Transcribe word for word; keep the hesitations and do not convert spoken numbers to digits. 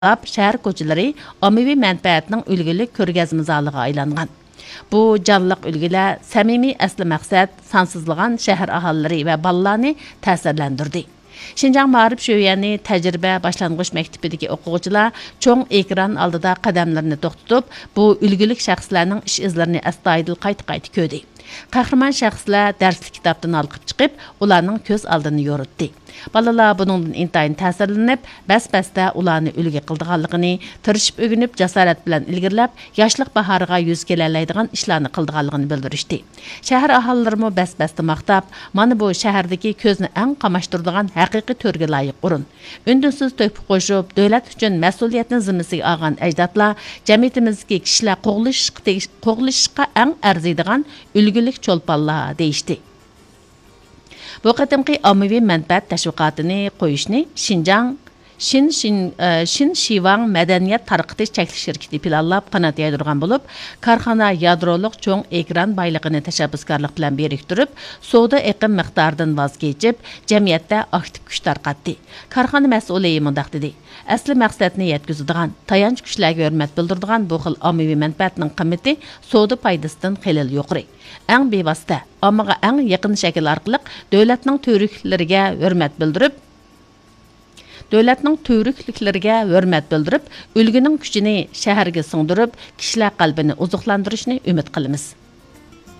شەھەر كوچىلىرى ئاممىۋى مەنپەئەتنىڭ ئۈلگىلىك كۆرگەزمە زالىغا ئايلانغان. بۇ جانلىق ئۈلگىلەر سەمىمىي ئەسلى مەقسەت، سانسىزلىغان شەھەر ئاھالىلىرى ۋە بالىلارنى تەسىرلەندۈردى. شىنجاڭ مائارىپ شۆيۈەنى تەجرىبە باشلانغۇچ مەكتىپىدىكى ئوقۇغۇچىلار چوڭ ئېكران ئالدىدا قەدەملىرىنى توختىتىپ، بۇ ئۈلگىلىك شەخسلەرنىڭ ئىش ئىزلىرىنى ئەستايىدىل قايتا-قايتا كۆردى. قەھرىمان شەخسلەر دەرسلىك كىتابتىن ھالقىپ چىقىپ، ئۇلارنىڭ كۆز ئالدىنى يورۇتتى. بالىلار بۇنىڭدىن ئىنتايىن تەسىرلىنىپ، بەس-بەستە ئۇلارنى ئۈلگە قىلىدىغانلىقىنى، تىرىشىپ ئۆگىنىپ، جاسارەت بىلەن ئىلگىرىلەپ، ياشلىق باھارىغا يۈز كېلەلەيدىغان ئىشلارنى قىلىدىغانلىقىنى بىلدۈرۈشتى. شەھەر ئاھالىلىرىمۇ بەس-بەستە ماختاپ، مانا بۇ شەھەردىكى كۆزنى ئەڭ قاماشتۇرىدىغان ھەقىقىي تۆرگە لايىق ئورۇن. ئۈندىسىز تۆھپە قوشۇپ، دۆلەت ئۈچۈن مەسئۇلىيەتنى زىممىسىگە ئالغان ئەجدادلار جەمئىيىتىمىزدىكى كىشىلەر قوغلىشىشقا تېگىش-، قوغلىشىشقا ئەڭ ئەرزىيدىغان ئۈلگىلىك چولپانلار، دېيىشتى. بۇ قېتىمقى ئاممىۋى مەنپەئەت تەشۋىقاتىنى قويۇشنى شىنجاڭ شىن، شىن، ئە، شىن شىۋاڭ مەدەنىيەت تارقىتىش چەكلىك شىركىتى پىلانلاپ قانات يايدۇرغان بولۇپ، كارخانا يادرولۇق چوڭ ئېكران بايلىقىنى تەشەببۇسكارلىق بىلەن بىرىكتۈرۈپ، سودا ئېقىم مىقدارىدىن ۋاز كېچىپ، جەمئىيەتتە ئاكتىپ كۈچ تارقاتتى. كارخانا مەسئۇلى مۇنداق دېدى: ئەسلى مەقسەتنى يەتكۈزىدىغان، تايانچ كۈچلەرگە ھۆرمەت بىلدۈرىدىغان بۇ خىل ئاممىۋى مەنپەئەتنىڭ قىممىتى سودا پايدىسىدىن خېلىلا يۇقىرى. ئەڭ بىۋاسىتە، ئاممىغا ئەڭ يېقىن شەكىل ئارقىلىق دۆلەتنىڭ تۈۋرۈكلۈكلىرىگە ھۆرمەت بىلدۈرۈپ، دۆلەتنىڭ تۈۋرۈكلۈكلىرىگە ھۆرمەت بىلدۈرۈپ، ئۈلگىنىڭ كۈچىنى شەھەرگە سىڭدۈرۈپ، كىشىلەر قەلبىنى ئوزۇقلاندۇرۇشنى ئۈمىد قىلىمىز.